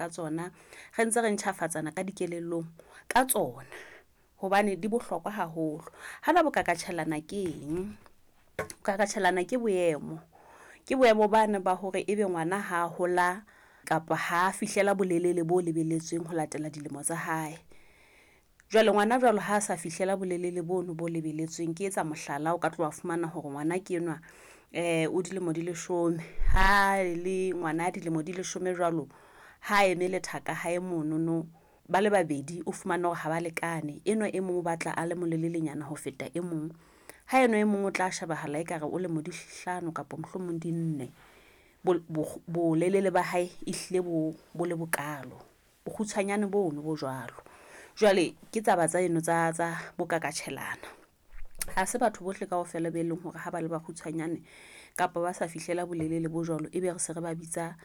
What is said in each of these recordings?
ka tsona, re ntse re ntjhafatsana ka dikelellong ka tsona. Hobane di bohlokwa haholo. Hana bokakatjhelana ke eng? Bokakatjhelana ke boemo. Ke boemo bane ba hore ebe ngwana ha hola kapa ha fihlela bolelele bo lebelletsweng ho latela dilemo tsa hae. Jwale ngwana jwalo ha sa fihlela bolelele bono bo lebelletsweng, ke etsa mohlala, o ka tloha fumana hore ngwana ke enwa o dilemo di leshome. Ha le ngwana dilemo di leshome jwalo, ha eme lethaka hae monono ba le babedi, o fumane hore ha ba lekane. Enwa e mong o batla a le molelelenyana ho feta e mong. Ha enwa e mong o tla shebahala ekare o lemo di hlano kapa mohlomong di nne. Bolelele ba hae e hlile bo bo le bokalo. Bokgutshwanyane bono bo jwalo. Jwale ke taba tsa eno tsa bokakatjhelana. Ha se batho bohle kaofela be leng hore ha ba le bakgutshwanyane kapa ba sa fihlela bolelele bo jwalo, ebe re se re ba bitsa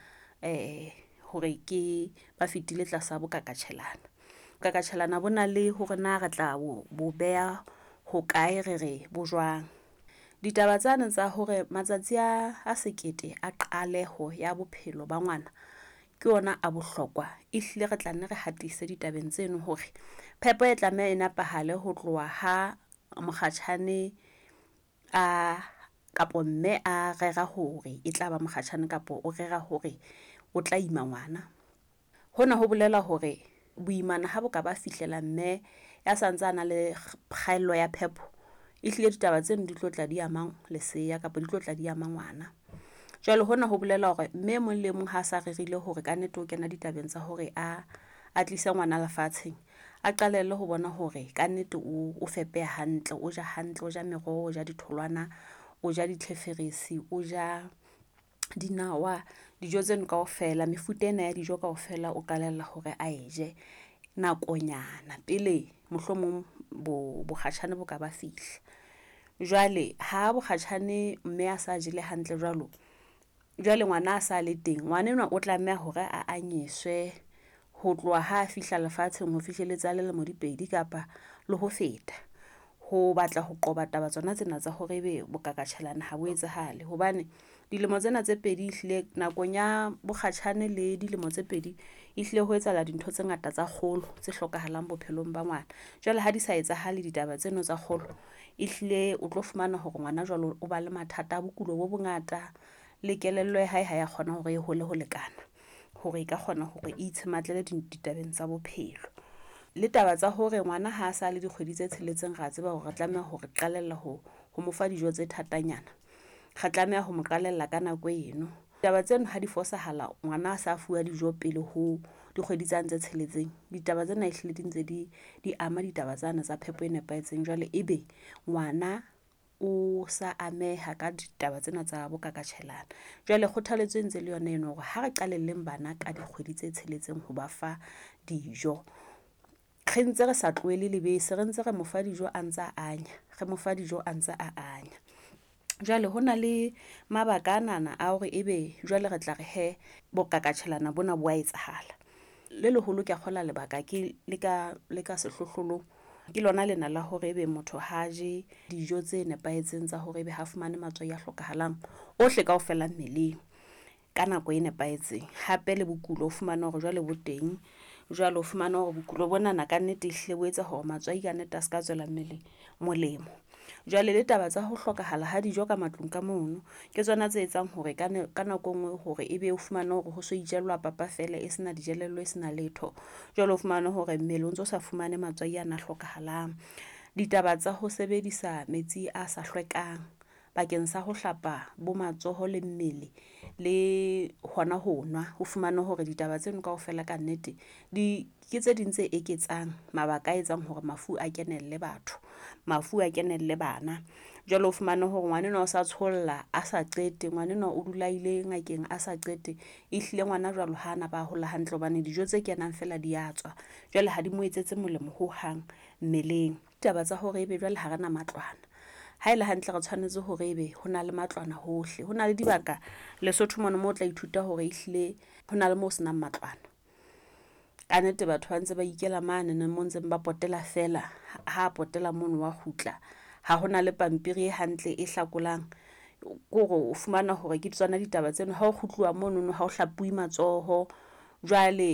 hore ke ba fetile tlasa bokakatjhelana. Bokakatjhelana bo na le hore na re tla bo beha hokae, re re bo jwang. Ditaba tsane tsa hore matsatsi a sekete a qaleho ya bophelo ba ngwana ke ona a bohlokwa. Ehlile re tla nne re hatise ditabeng tseno hore phepo e tlameha e nepahale ho tloha ha mokgatjhane a kapo mme a rera hore e tlaba mokgatjhane kapa o rera hore o tla ima ngwana. Hona ho bolela hore boimana ha bo ka ba fihlela mme ya santsa a na le kgaello ya phepo, ehlile ditaba tseno di tlo tla di amang leseya kapa di tlo tla di ama ngwana. Jwale hona ho bolela hore mme e mong le mong ha sa rerile hore kannete o kena ditabeng tsa hore a tlise ngwana lefatsheng, a qalelle ho bona hore kannete o fepeha hantle, o ja hantle, o ja meroho, o ja ditholwana, o ja ditlheferesi, o ja dinawa. Dijo tseno kaofela, mefuta ena ya dijo kaofela o qalella hore a e je nakonyana pele mohlomong bokgatjhane bo ka ba fihla. Jwale ha bokgatjhane mme a sa jele hantle jwalo, jwale ngwana a sa le teng, ngwana enwa o tlameha hore a anyeswe ho tloha ha fihla lefatsheng ho fihlelletse a le lemo di pedi kapa le ho feta. Ho batla ho qoba taba tsona tsena tsa hore ebe bokakatjhelana ha bo etsahale. Hobane dilemo tsena tse pedi ehlile nakong ya bokgatjhane le dilemo tse pedi, ehlile ho etsahala dintho tse ngata tsa kgolo tse hlokahalang bophelong ba ngwana. Jwale ha di sa etsahale ditaba tseno tsa kgolo, ehlile o tlo fumana hore ngwana jwalo o ba le mathata a bokulo bo bongata. Le kelello ya hae ha ya kgona hore e hole ho lekana hore e ka kgona hore e itshematlela ditabeng tsa bophelo. Le taba tsa hore ngwana ha sa le dikgwedi tse tsheletseng, ra tseba hore re tlameha hore qalella ho mo fa dijo tse thatanyana. Re tlameha ho mo qalella ka nako eno. Taba tseno ha di fosahala, ngwana a sa fuwa dijo pele ho dikgwedi tsane tse tsheletseng. Ditaba tsena ehlile di ntse di ama ditaba tsane tsa phepo e nepahetseng. Jwale ebe ngwana o sa ameha ka ditaba tsena tsa bokakatjhelana. Jwale kgothaletso e ntse le yona eno hore ha re qalelleng bana ka dikgwedi tse tsheletseng ho ba fa dijo. Re ntse re sa tlohele lebese, re ntse re mo fa dijo a ntsa anya, re mo fa dijo a ntse a anya. Jwale ho na le mabaka anana a hore ebe jwale re tla re hee bokakatjhelana bona bo a etsahala. Le leholo ke a kgola lebaka ke le ka sehlohlolong ke lona lena la hore ebe motho ha je dijo tse nepahetseng tsa hore ebe ha fumane matswai a hlokahalang ohle kaofela mmeleng ka nako e nepahetseng. Hape le bokulo o fumane hore jwale bo teng. Jwale o fumane hore bokulo bonana ka nnete ehlile bo etsa hore matswai ka nnete a ska tswela mmele molemo. Jwale le taba tsa ho hlokahala ha dijo ka matlung ka mono, ke tsona tse etsang hore ka nako e nngwe hore ebe o fumane hore ho so itjellwa papa fela e sena dijelello e sena letho. Jwale o fumane hore mmele o ntso sa fumane matswai ana a hlokahalang. Ditaba tsa ho sebedisa metsi a sa hlwekang bakeng sa ho hlapa bo matsoho le mmele le hona ho nwa. O fumane hore ditaba tseno kaofela ka nnete di ke tse ding tse eketsang mabaka a etsang hore mafu a kenelle batho, mafu a kenelle bana. Jwale o fumane hore ngwana enwa o sa tsholla a sa qete, ngwana enwa o dula ile ngakeng a sa qete. Ehlile ngwana jwalo ha na ba hola hantle hobane dijo tse kenang fela di a tswa. Jwale ha di mo etsetse molemo hohang mmeleng. Taba tsa hore ebe jwale ha rena matlwana. Ha ele hantle re tshwanetse hore ebe ho na le matlwana hohle. Ho na le dibaka Lesotho mona moo o tla ithuta hore ehlile ho na le moo senang matlwana. Ka nnete batho ba ntse ba ikela mane moo ntseng ba potela fela. Ha potela mono wa kgutla. Ha hona le pampiri e hantle e hlakolang. Ke hore o fumana hore ke tsona ditaba tseno. Ha o kgutluwa monono ha o hlapuwe matsoho. Jwale.